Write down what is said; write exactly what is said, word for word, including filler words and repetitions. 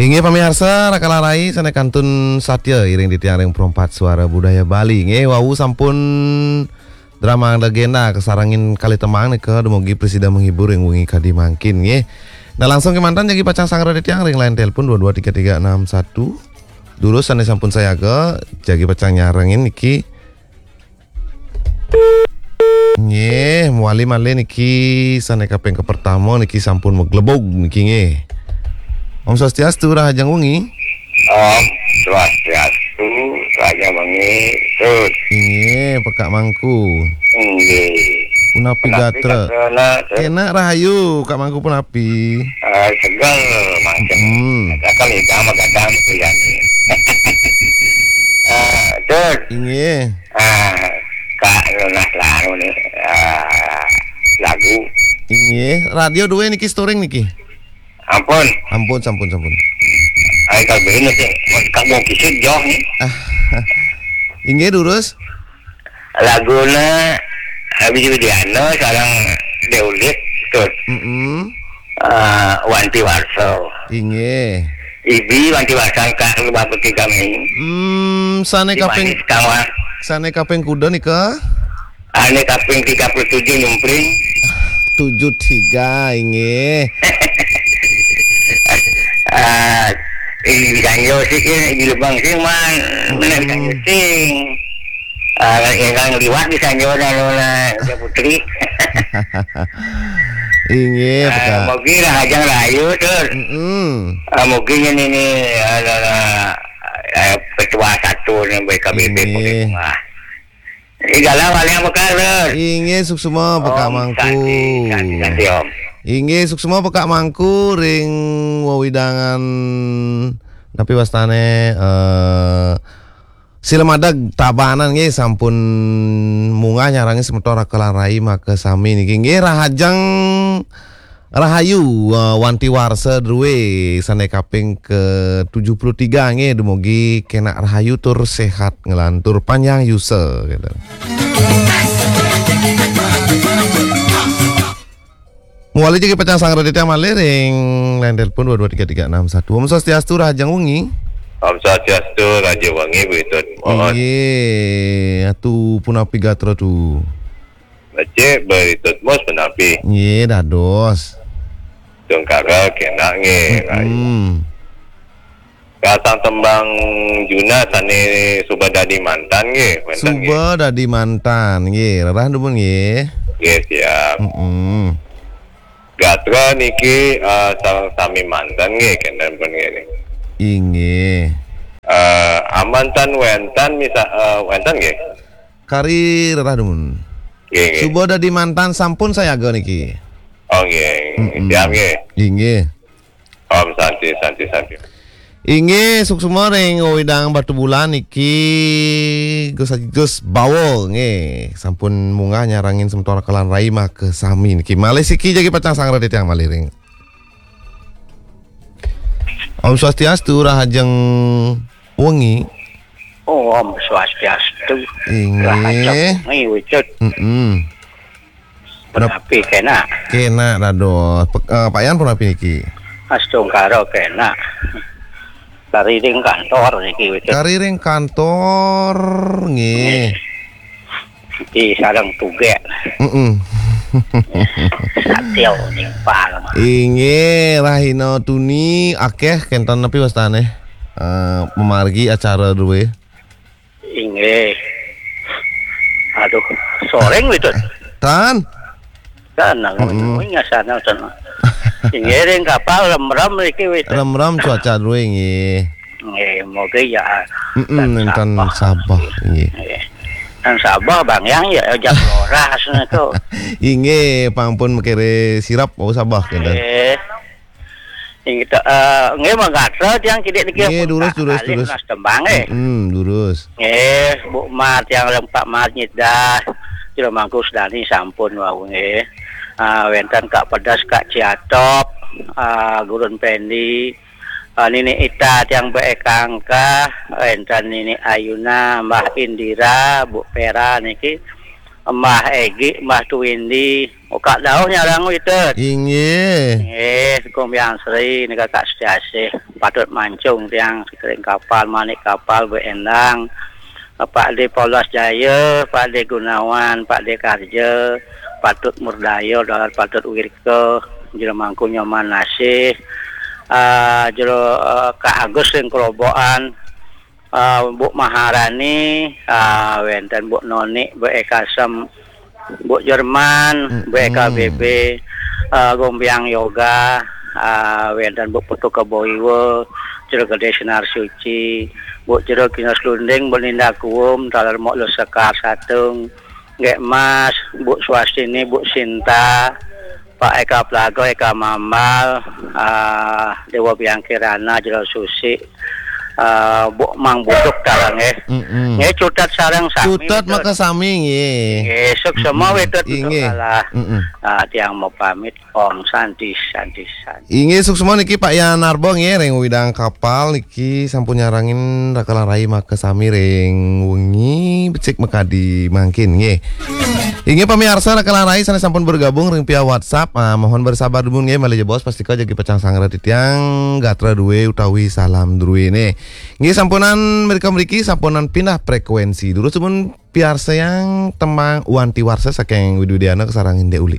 Inggih pamiarsa, Raka Larai sané kantun satya iring titiang ring Perempat Suara Budaya Bali. Inggih, wau sampun drama legenda kasarengin kalih tembang nika dumugi prasida menghibur ring wengi kadi mangkin, nggih. Nah, langsung kémanten jagi pacang sanggra titiang ring line telepon dua dua tiga tiga enam satu. Durus sané sampun sayaga, jagi pacang nyarengin niki. Nggih, mawali malih niki sané kaping kapertama niki sampun maglebug niki nggih. Om Swastiastu, rahajeng wengi. Om Swastiastu, rahajeng wengi, Tut. Inggih, Pekak Mangku. Inggih. Punapi gatra? Gatra, Tut? Kénak rahayu, Kak Mangku punapi? Eh, segel mangkin. Hmm. Katakan idang magadang kuyani. Eh, Tut. Inggih. Ah, Kak Lunas Lanu nih, ah, lagu. Inggih, radio duwe niki storing niki. Ampun. Ampun, sampun, sampun. Ai, kalau begini sih, Kak mau kisut jauh nih. Ah, inggih, durus. Laguna Abi Widiana sareng Déulit, Tut. Mm-mm. Eh, Wanti Warsa. Inggih. Ibi Wanti Warsa, Kak, Lubah Putih Gaming. Hmm, sané kaping, sané kaping kuda nika? Ané kaping tiga puluh tujuh nyumpring. Tujuh tiga, inggih. Ah, di Ganjo sih, di Lubang sih, man. Hmm. Bener di Ganjo sih. Ah, yang kan liwat di Ganjo, anu, nah, Putri. Inggih, ah, Pekak. Mogi rahajeng rahayu, Tut. Mm-mm. Ah, mogi nyen ini, ah, ah, ah, ketua satu nih B K B B. Inggih. Wah. Ih, galah waliang Pekak, Tut. Inggih, suksma Pekak Mangku. Santi, santi, santi, Om. Inggih, suksma Pekak Mangku ring wewidangan napi wastané, eh, Sila Madeg Tabanan nggih sampun munggah nyarengin semeton Raka lan Rai makasami niki nggih rahajeng rahayu, eh, Wanti Warsa druwe sané kaping ke tujuh puluh tiga nggih dumugi kénak rahayu tur séhat nglantur panjang yusa gitu. Mawali jagi pacang sanggra titiang malih ring line telepon dua dua tiga tiga enam satu. Om Swastiastu, rahajeng wengi. Om Swastiastu, rahajeng wengi, Bu Itut. Mohon. Inggih, atu punapi gatra tu? Becik, Bu Itut Mus punapi? Inggih, dados. Tungkara kénak nggih. Mm-mm. Kasang tembang Juna sané suba dadi mantan nggih, wénten nggih. Suba dadi mantan nggih, rerah dumun nggih. Nggih, siap. Mm-mm. Gatra niki, eh, sareng sami mantan nggih, kénten pun nggih. Inggih. Eh, amantan wénten misa-, eh, wénten nggih. Kari rerah dumun. Nggih, nggih. Suba dadi mantan sampun sayaga niki. Oh, nggih. Mm-mm. Siap nggih. Inggih. Om Santi, Santi, Santi. Inggih, suksma ring wewidangan Batubulan niki Gus Haji Gus Bawa nggih. Sampun munggah nyarengin semeton Raka lan Rai makasami niki. Malih siki jagi pacang sanggra titiang malih ring. Om Swastiastu, rahajeng wengi. Oh, Om Swastiastu. Inggih. Rahajeng wengi, Wicud. Mm-mm. Punapi kénak? Kénak dados. Pe-, eh, Pak Yan punapi niki? Astungkara kénak. Kari ring kantor niki, Wicud. Kari ring kantor, nggih. Di sareng tugék. Mm-mm. Satya nimpal. Inggih, rahina tuni akéh kénten napi wastané? Eh, mamargi acara druwé. Inggih. Aduh, soreng, Wicud. Tan. Tan, mm-mm, nang ngasana, tan. Inggih, ring kapal remrem niki, Wicud. Remrem cuaca druwé, nggih. Nggih, moga ya. Mm-mm, nénten sabeh, nggih. Nggih. Tan sabeh, Bang Yang, ya, jam roras niku. Inggih, pang pun makiré sirep, oh, sabeh, kénten. Nggih. Inggih, eh, nggih, mangkasa tiang kidik niki. Nggih, pun durus, tak durus, alih durus. Nas tembang, eh. Mm-mm, durus. Nggih, Bu Mar tiang lempak Mar nyedah. Jero Mangku Sedani sampun wau nggih. Ah, wénten Kak Pedas, Kak Ciatop, ah, Gurun Pendi, ah, Nini Ita tiang Baé Kangkah, wénten Nini Ayuna, Mbah Indira, Bu Pera niki. Mbah Egi, Mbah Tuwindi, Kak Dauh nyarang Witet. Inggih. Nggih, Kong Biang Sri, nika Kak Setiasih. Patut mancung tiang sekering kapal, manik kapal, Bu Endang. Pak De Paulas Jaya, Pak De Gunawan, Pak De Karja, Patut Murdaya, Dalar Patut Wirka, Jero Mangku Nyoman Nasih, ah, Jero, eh, Kak Agus ring Kerobokan, ah, Bu Maharani, ah, wenten Bu Noni, Bu Ekasem, Bu Jerman, Bu Eka B B, ah, Gombiang Yoga, ah, wenten Bu Putu Kebo Iwa, Jero Gede Sinar Suci, Bu Jero Kinos Lunding, Bu Ninda Kuum, taler Mok Lu Sekar Satung, Nggih Mas, Bu Swastini, Bu Sinta, Pak Eka Plaga, Eka Mambal, ah, Dewa Biang Kirana, Jero Susi, ah, Bu Mang Buduk taler nggih. Mm-mm. Nggih, cutet sareng sami, Cutet cutet. Maka sami nggih. Nggih, suksema Mm-mm. Witet Inggih. Kalah. Mm-mm. Ah, tiang mau pamit. Om Santi, Santi, Santi. Inggih, suksema niki Pak Yan Arbo nggih, ring Widang Kapal niki sampun nyarengin Raka Larai maka sami ring wengi becik makadi mangkin nggih. Inggih pamiarsa Raka Larai sane sampun bergabung ring via WhatsApp, ah, mohon bersabar dumun nggih, malih jebos pastika jagi pacang sanggra titiang gatra duwe utawi salam druwene. Nggih sampunan mrika mriki sampunan pindah frekuensi. Durus dumun piarsayang tembang Wanti Warsa saking Widi Widiana kasarengin Dek Uli.